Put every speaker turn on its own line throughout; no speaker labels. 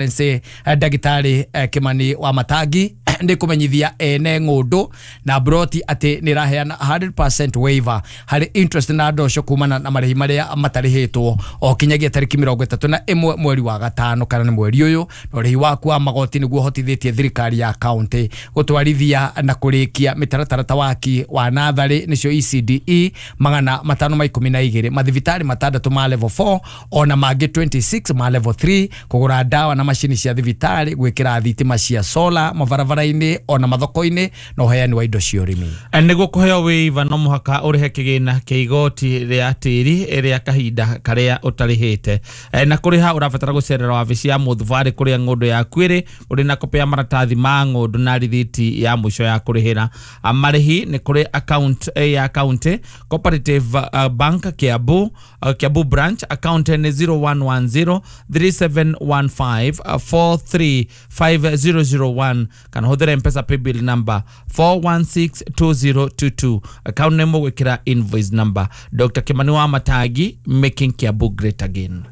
Excellency Ndagĩtarĩ Kimani wa Matangi nĩ kũmenyithia ene ng'ũndũ na broti atĩ nĩ ĩraheana 100% waiver harĩ interest na ndosho kumana na marĩhi marĩa matarĩhĩtwo o kinyagia tarĩki 31 mweri wa gatano kana nĩ mweri ũyũ, na ũrĩhi waku wa magoti nĩguo ũhotithĩtie thirikari ya county gũtwarithia na kũrĩkia mĩtaratara ta waki wa natharĩ nĩcio ECDE 512, mathibitarĩ 6 ma level 4 ona mangĩ 26 ma level 3, kũgũra ndawa na macini cia thibitarĩ, gwĩkĩra thitima cia solar mabarabara-inĩ ona mathoko-inĩ na ũheani wa indo cia ũrĩmi.
Nĩguo kũheo waiver no mũhaka ũrĩhe kĩgĩna kĩa igoti rĩa tĩri rĩa kahinda karĩa ũtarĩhĩte, na kũrĩha ũrabatara gũcerera wabici ya mũthubarĩ kũrĩa ng'ũndũ yaku ĩrĩ ũrĩ na kopĩ ya maratathi ma ng'ũndũ na rithiti ya mũico ya kũrĩhĩra. Marĩhi nĩ kũrĩ account ya county Cooperative Bank Kiambu, Kiambu branch, account nĩ 0110 3715 435001 kana hũthĩra M-Pesa paybill number 4162022, account name gwĩkĩra invoice number. Dr. Kimani wa Matangi, making Kiambu great again.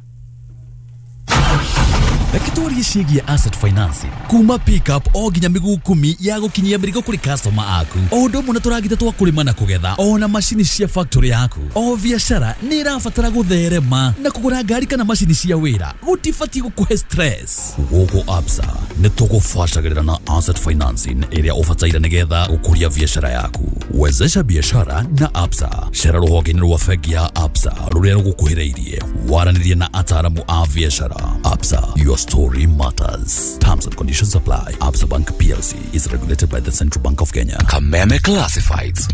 Reke twarie ciĩgiĩ asset financing kuma pickup o nginya mĩguu 10 ya gũkinyia mĩrigo kũrĩ customer aku, o ũndũ ũmwe na tũragita twa kũrĩma na kũgetha, ona macini cia factory yaku. O biacara nĩ ĩrabatara gũtherema, na kũgũra ngari kana macini cia wĩra gũtibatiĩ gũkũhe stress. Gũkũ Absa nĩ tũgũbacagĩrĩra na asset financing ĩrĩa ũbataire nĩgetha gũkũria biacara yaku. Wezesha biashara na Absa. Cera rũhonge-inĩ rwa bengi ya Absa rũrĩa rũgũkuhĩrĩirie, waranĩrie na ataaramu a biacara. Absa, your story matters. Terms and conditions apply. Absa Bank PLC is regulated by the Central Bank of Kenya.
Kameme Classifieds.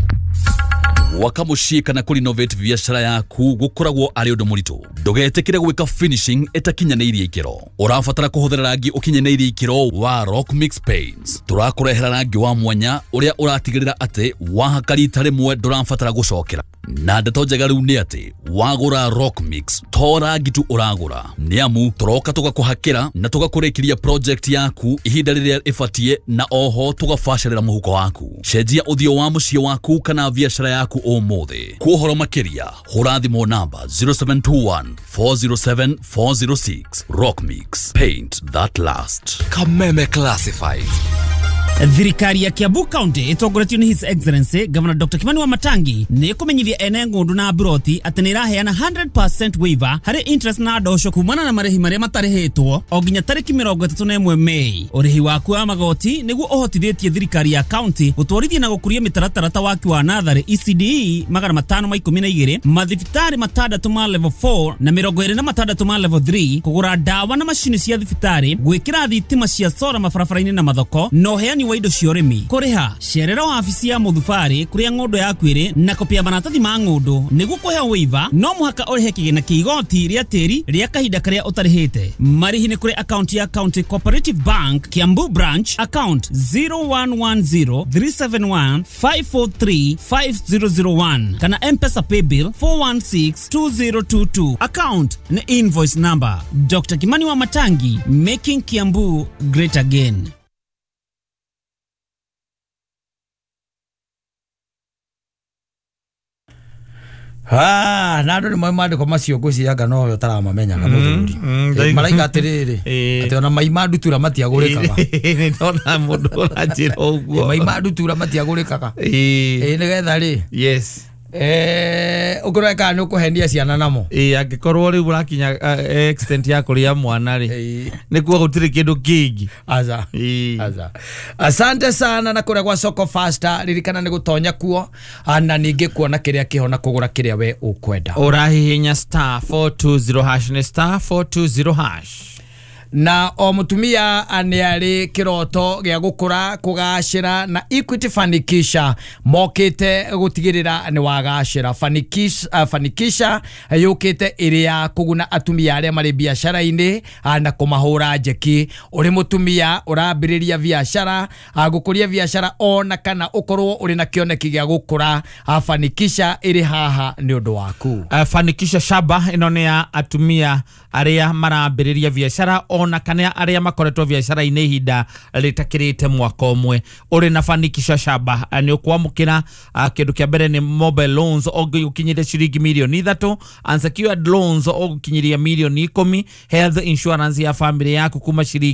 Gwaka mũciĩ kana kũrenovate biacara yaku gũkoragwo arĩ ũndũ mũritũ. Ndũgetĩkĩre gwĩka finishing ĩtakinyanĩirie ikĩro. Ũrabatara kũhũthĩra rangi ũkinyanĩirie ikĩro wa Rock Mix Paints. Tũrakũrehera rangi wa mwanya ũrĩa ũratigĩrĩra atĩ wahaka rita rĩmwe ndũrabatara gũcokera. Na ndeto njega rĩu nĩ atĩ wagũra Rock Mix to rangi tu ũragũra, nĩ amu tũroka tũgakũhakĩra na tũgakũrĩkĩria project yaku ihinda rĩrĩa ĩbatiĩ, na oho tũgabacĩrĩra mũhuko waku. Cenjia ũthiũ wa mũciĩ waku kana biacara yaku ũmũthĩ. Kwa ũhoro makĩria hũra thimũ namba 0721 407 406. Rock Mix, paint that last.
Kameme Classifieds.
Thirikari ya Kiambu County ĩtongoretio nĩ His Excellency Governor Dr. Kimani wa Matangi nĩ ĩkũmenyithia ene ng'ũndũ na broti atĩ nĩ ĩraheana 100% waiver harĩ interest na ndosho kumana na marĩhi marĩa matarĩhĩtwo o nginya tarĩki 31 Mei. Ũrĩhi waku wa magoti nĩguo ũhotithĩtie thirikari ya county gũtwarithia na gũkũria mĩtaratara ta waki wa natharĩ ECDE 512, mathibitarĩ 6 ma level 4 na 26 ma level 3, kũgũra ndawa na macini cia thibitarĩ, gwĩkĩra thitima cia solar mabarabara-inĩ na mathoko, na ũheani wa indo cia ũrĩmi. Kũrĩha cerera wabici ya mũthubarĩ kũrĩa ng'ũndũ yaku ĩrĩ na kopĩ ya maratathi ma ng'ũndũ. Nĩguo kũheo waiver no mũhaka ũrĩhe kĩgĩna kĩa igoti rĩa tĩri rĩa kahinda karĩa ũtarĩhĩte. Marĩhi nĩ kũrĩ account ya County Cooperative Bank Kiambu branch, account 0110 371 543 5001 kana M-Pesa paybill 4162022, account nĩ invoice number. Dr. Kimani wa Matangi, making Kiambu great again.
Na andũ nĩ moĩ mandĩko macio ngwĩciria no we ũtaramamenyaga mũthuri. Maraiga atĩrĩrĩ atĩ ona mai ma ndutura matiagũrĩkaga.
Nĩ ndona mũndũ ũranjĩra ũguo.
Mai ma ndutura matiagũrĩkaga. Ĩĩ nĩgetha rĩ.
Yes.
Ũkũrora kana nĩ ũkũhenia ciana namo.
Ĩĩ angĩkorwo rĩu ũrakinya extent ya kũrĩa mwana rĩ, nĩkuo gũtirĩ kĩndũ kĩngĩ.
Aca. Aca. Asante sana na kũrĩa gwa Soko Faster, ririkana nĩ gũtonya kuo na ningĩ kuona kĩrĩa kĩho na kũgũra kĩrĩa we ũkwenda.
Ũrahihinya star 420 hash nĩ star 420 hash.
Na o mutumia nĩ arĩ kĩroto gĩa gũkũra kũgacĩra na Equity Fanikisha mokĩte gũtigĩrĩra nĩ wagacĩra. Fanikisha yũkĩte ĩrĩ ya kũguna atumia arĩa marĩ biacara-inĩ na kũmahũra njeki. Ũrĩ mũtumia ũrambĩrĩria biacara, gũkũria biacara ona kana ũkorwo ũrĩ na kĩoneki gĩa gũkũra, Fanikisha ĩrĩ haha nĩ ũndũ waku.
Fanikisha Shaba ĩno nĩ ya atumia arĩa marambĩrĩria biacara Ona kana arĩa makoretwo biacara-inĩ ihinda rĩtakĩrĩte mwaka ũmwe. Ũrĩ na Fanikisha Shamba nĩ ũkwamũkĩra kĩndũ kĩa mbere nĩ mobile loans ũgũkinyĩria ciringi mirioni 3, unsecured loans ũgũkinyĩria mirioni 10, health insurance ya family yaku kuma ciringi